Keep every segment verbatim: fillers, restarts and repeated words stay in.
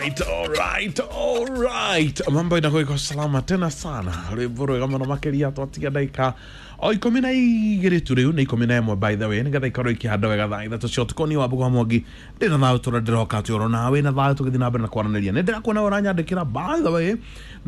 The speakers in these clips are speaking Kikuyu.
Alright, alright, alright. Mambo inakuwa iko salama tena sana. Rwimbo rwega muno makiria twatiga ndaika o ikumi na igĩrĩ tu rĩu nĩ ikũmi na ĩmwe by the way nĩgetha ikorwo ikĩhanda wega thaa ithatũ cia ũtukũ. Niĩ Wambugu wa Mwangi ndĩna thayũ tũrĩa ndĩroka atĩ oro nawe na thayũ tũgĩthiĩ na mbere na kwaranĩria. Nĩ ndĩrakuona ũranyandĩkĩra by the way,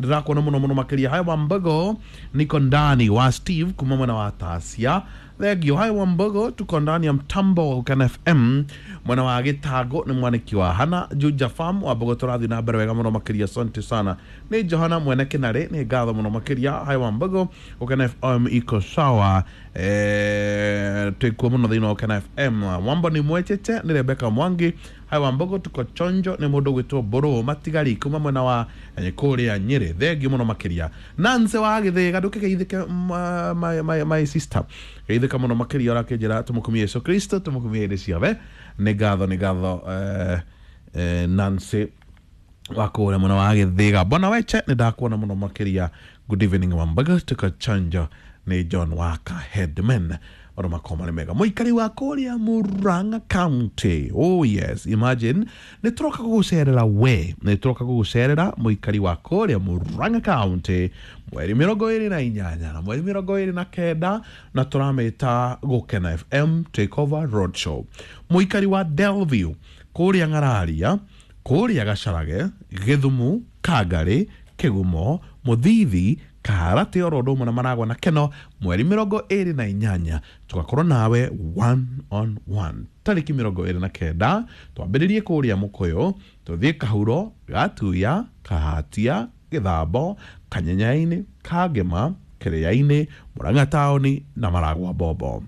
ndĩrakuona mũno mũno makĩria. Hai Wambugu, niko ndani wa Steve kuma mwena wa Tasia. Thank you. Hai Wambugu, tuko ndani ya mtambo wa Gukena F M mwena wa Gĩtango nĩ mwanĩki wa Hana Juja Farm. Wambugu tũrathiĩ na mbere wega mũno makĩria, asante sana. Nĩ Johana mwene Kĩnarĩ, nĩ ngatho mũno makĩria. Hai Wambugu, Gukena F M iko sawa, eh twĩkuo mũno thĩinĩ wa Gukena F M. Wambo nĩ mwechete nĩ Rebecca Mwangi. Hai Wambugu, tuko chonjo nĩ mũndũ gwĩtwo Mbũrũ Matigari kuma mwena wa kũrĩa Nyĩrĩ. Thengiũ mũno makĩria. Nancy wa Gĩthĩga, ndũkĩgeithĩke my, my, my sister, geithĩka mũno makĩria ũrakĩnjĩra tũmũkumie Yesu Kristo, tũmũkumie hĩndĩ ciothe. Nĩ ngatho, nĩ ngatho eh, eh, Nancy wa kũrĩa mwena wa Gĩthĩga. Bwana Weche, nĩ ndakuona mũno makĩria. Good evening Wambugu, tuko chonjo nĩ John Waka Headman. Maũndũ makwa marĩ mega. Mũikari wa kũrĩa Murang'a County. Oh yes, imagine nĩ tũroka gũgũcerera we, nĩ tũroka gũgũcerera mũikari wa kũrĩa Murang'a County mweri mĩrongo ĩrĩ na inyanya na mweri mĩrongo ĩrĩ na kenda, na tũramĩta Gukena F M Takeover Roadshow. Mũikari wa Delview kũrĩa Ng'araria, kũrĩa Gacarage, Gĩthumu, Kangarĩ, Kĩgumo, Mũthithi, Kaharatĩ oro ũndũ ũmwe na Maragwa na Keno mweri mĩrongo ĩrĩ na inyanya tũgakorwo nawe one on one tarĩki mĩrongo ĩrĩ na kenda. Twambĩrĩrie kũrĩa Mũkũyũ, tũthiĩ Kahuro, Gatuya, Kahatia, Gĩthambo, Kanyenyainĩ, Kangema, Kĩrĩainĩ, Murang'a taũni na Maragwa Bombo.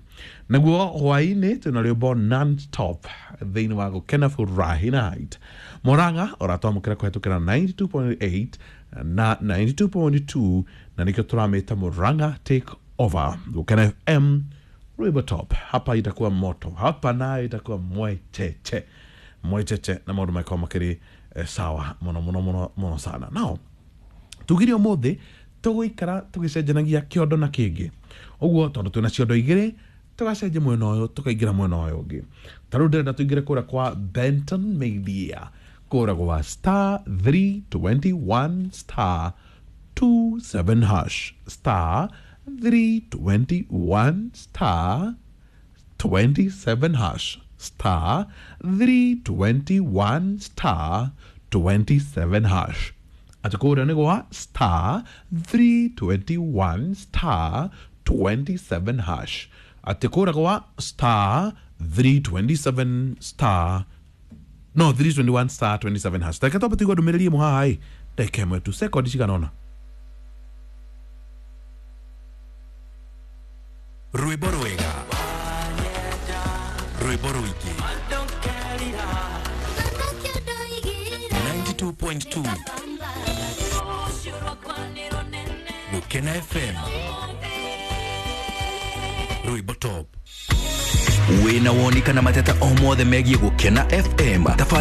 Naguo hwaĩ-inĩ twĩna rwĩmbo non-stop thĩinĩ wa Gukena Furahi Night. Murang'a ũratwamũkĩra kũhetũkĩra ninety-two point eight na ninety-two point two, na nĩkĩo tũramĩta Murang'a Take Over. Gukena F M rwĩmbo top. Hapa itakuwa moto, hapa nayo itakuwa mwecheche mwecheche, na maũndũ makorwo makĩrĩ eh, sawa mũno mũno mũno mũno sana. Now tugire ũmũthĩ tũgũikara tũgĩcenjanagia kĩondo na kĩngĩ, ũguo tondũ twĩna ciondo igĩrĩ tũgacenjia mwena ũyũ tũkaingĩra mwena ũyũ ũngĩ. Ta rĩu ndĩrenda tũingĩre kũrĩa kwa Benton Media, kũrĩa gwa star three twenty-one star two seven hash, star three twenty-one star twenty-seven hash, star three twenty-one star twenty-seven hash. Atĩ kũrĩa nĩ gwa star three twenty-one star twenty-seven hash. Atĩ kũrĩa gwa star three twenty-seven star no three twenty-one star twenty-seven hash. Reke twambe tũigue ndũmĩrĩri ĩmwe haha ĩ, ndagĩka ĩmwe tu, sekondi cigana ũna. Rwĩmbo rwega, rwĩmbo rũingĩ, ninety-two point two Gukena F M rwĩmbo top. Wĩna woni kana mateta o mothe megiĩ Gukena F M, tafadhali